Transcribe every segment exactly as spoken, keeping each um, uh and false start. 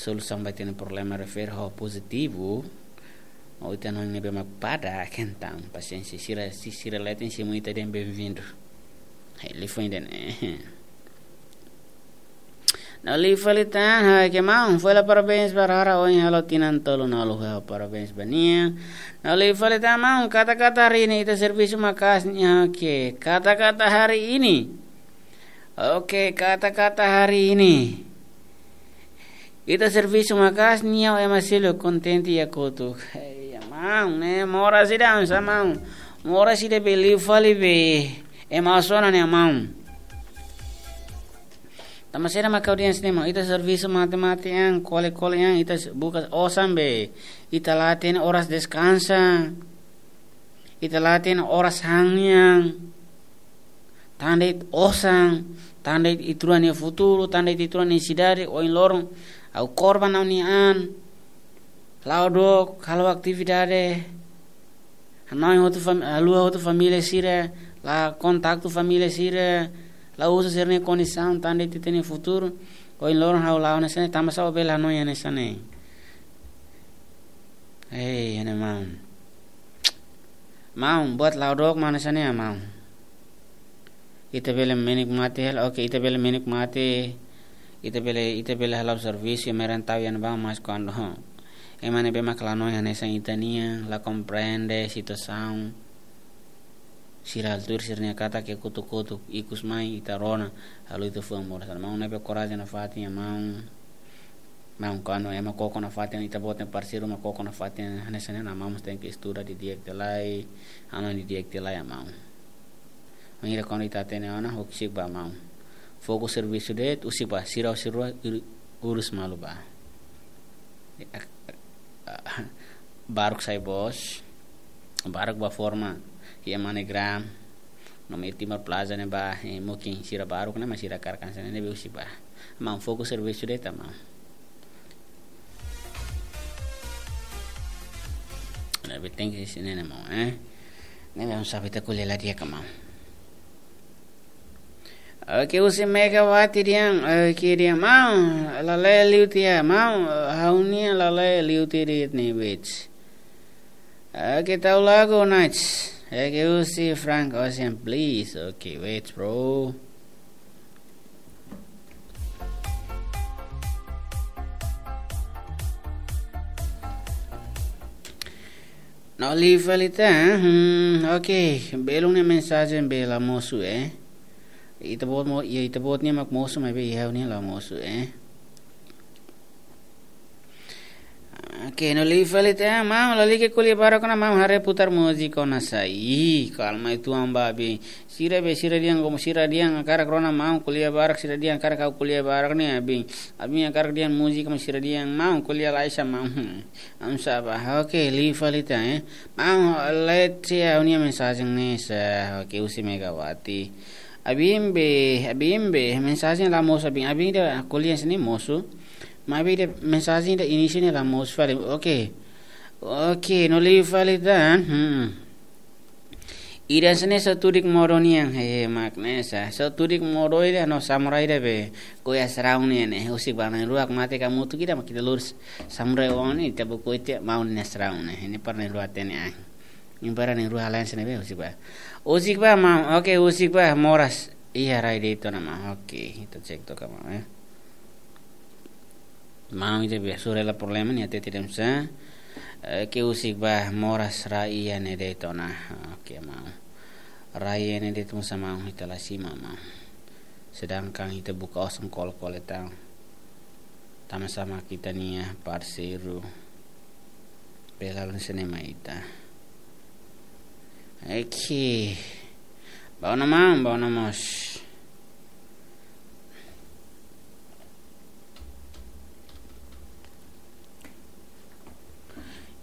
solusaun ba ita-nia problema refere ho pozitivu, ou ita hanoin ne'ebé mak padak, entaun pasiénsia, sira, se sira leten, simu ita dehan bem-vindo. Hei, liafuan ida-ne'e. No liafuan liután, ha'u ke maun, fó hela parabéns ba Rara ohin halo tinan tolunulu, ha'u parabéns ba nia. No liafuan liután maun, kata-kata hari ini ita servisu maka'as nia, oke, kata-kata hari ini. Oke, kata-kata hari ini. Ita servisu maka'as nia, ema seluk kontente iha kotuk. Hei, maun, ne'e moras ida, sa maun. Moras ida be liu fali be. Ema sona ne'e maun. Tanba saida mak ha'u dehan hanesan ne'e maun. Ita servisu mate-mate an, kole-kole an, ita s-, buka osan be. Ita la hatene oras deskansa. Ita la hatene oras han nian. Tan de'it osan, tan de'it ita-rua nia futuru, tan de'it ita-rua nia sidade, ohin loron ha'u korban ha'u-nia an. La'o dook, halo atividade. Hanoin hotu fam-, haluha hotu família sira, la kontaktu família sira, la uza sira-nia kondisaun, tan de'it ita-nia futuru. Ohin loron ha'u la'o hanesan ne'e, tanba sá ó bele hanoin hanesan ne'e. Hei, ne'e maun. Maun, buat la'o dook maun hanesan ne'e maun. Ita bele menikmati hela, oke, ita bele menikmati, ita bele, ita bele halo servisu, merentau iha ne'ebá, mas kuandu, ho, ema ne'ebé mak la hanoin hanesan ita-nian, la komprende situasaun, sira halo tuir sira-nia katak ke kotuk-kotuk, ikus mai ita rona, halo ita fuan moras. Maun ne'ebé korajen nafatin iha maun. Maun, kuandu ema koko nafatin, ita-boot nia parseiru mak koko nafatin hanesan ne'e, maun mós tenke estuda didi'ak tiha lai, hanoin didi'ak tiha lai maun. Maun, ira kuandu ita hatene ona, husik bá maun. Fokus servisu de'it, husik bá, sira, sira ur-, urus malu bá. Baruk sai bos, baruk bá forma iha MoneyGram, no iha Timor Plaza ne'ebá, eh, mungkin sira baruk ne'e, mas sira hakarak hanesan ne'e, ne'ebé husik bá. Maun, fokus servisu de'it maun. Ne'ebé tenke hanesan ne'e maun, eh. Ne'ebé maun, sabe ita ko'alia la di'ak maun. Oke, husi Megawati dehan, oke, dehan maun, lale'e liu tiha maun, ha'u-nian lale'e liu tiha de'it ne'e, wait. Oke, tau lagu, nice. Oke, husi Frank Ocean, please. Oke, wait, bro. No liu fali tan, hmm, oke, belun nia mensajen be la mosu, eh. Ita-boot mo, ya, ita-boot nia mak mosu, maibé ha'u-nian la mosu, eh. Oke, no liu fali tan, maun, lalika ko'alia barak ona maun, haree putar múzika ona sai. Ih, kalma uitoan ba, abin. Sira be, sira dehan, komu sira dehan hakarak rona maun ko'alia barak, sira dehan hakarak ha'u ko'alia barak ne'e, abin. Abin hakarak dehan múzika, mas sira dehan maun ko'alia lai sa maun. Hmm. Am saba, oke, liu fali tan, eh. Maun, lale'e tiha ha'u-nia mensajen ne'e sa, oke, husi Megawati. Abin be, abin be, mensajen la mosu abin, abin ida ko'alia hanesan ne'e mosu. Maibé ida mensajen ida inísiu ne'e la mosu fali, oke. Oke, no liu fali tan, hmm. Ida hanesan ne'e só tudik modo nian, he, mak ne'e sa. Só tudik modo ida no samurai ida be. Ko'a sraun nian ne'e, husik bá na'in-rua mate hamutuk ida mak ita lurus. Samurai oan ne'e, ita buku ita maun nia sraun ne'e. Ne'e para na'in-rua hatene an. Ne'e para na'in-rua halo hanesan ne'e be, husik bá. Husik bá maun, oke, husik bá, moras. Iha rai de'it ona maun, oke. Ita cek to'ok maun, eh. Maun ida be sura la problema nia hatete de'it sa. Eh, ke husik bá moras rai iha ne'e de'it ona. Oke, maun. Rai iha ne'e de'it mós maun, ita la simu maun. Sedangkan ita buka osan kole-kole tan. Tanba sá mak ita-nia parseiru. Bele hanesan ne'e mai ita. Oke. Bá ona maun, bá ona mós.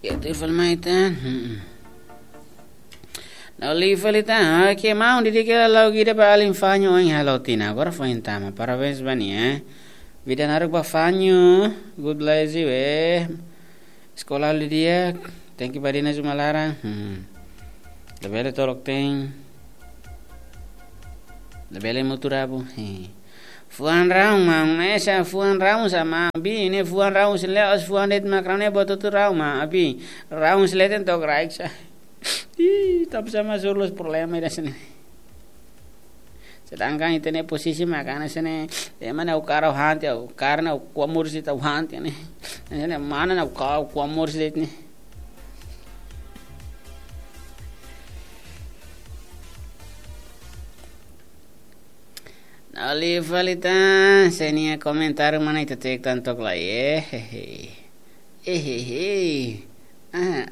Ya, tuir fali mai tan. Hmm. No liu fali tan. Oke, maun, dedika lagu ida ba alin Fanyu ohin halo tinan. Agora foin tama. Parabéns ba nia, eh. Vida naruk ba Fanyu. God bless you, eh. Eskola halo di'ak, tenke bá de'it iha uma laran. Hmm. Labele tolok-teen. Labele mutu rabu. He. Fuan raun, maun, esa fuan raun sa, maun, abi, ne'e fuan raun sira la'ós fuan de'it mak raun ne'e, buat hotu raun, maun, abi. Raun sira leten tok raik sa. Ih, tanba sá mak suru loos problema ida sini. Sedangkan ita-nia posisi mak hanesan ne'e, ema ne'e ha'u kaer ha'u han tiha, ha'u kaer ne'e ha'u kuak moris de'it ha'u han tiha ne'e. Ne'e mana ne'e ha'u kaer ha'u kuak moris de'it ne'e. Nali fali tan, sé nia komentáriu mana ita tuir tan took lai, eh, hehe. Eh, hehe. Ah,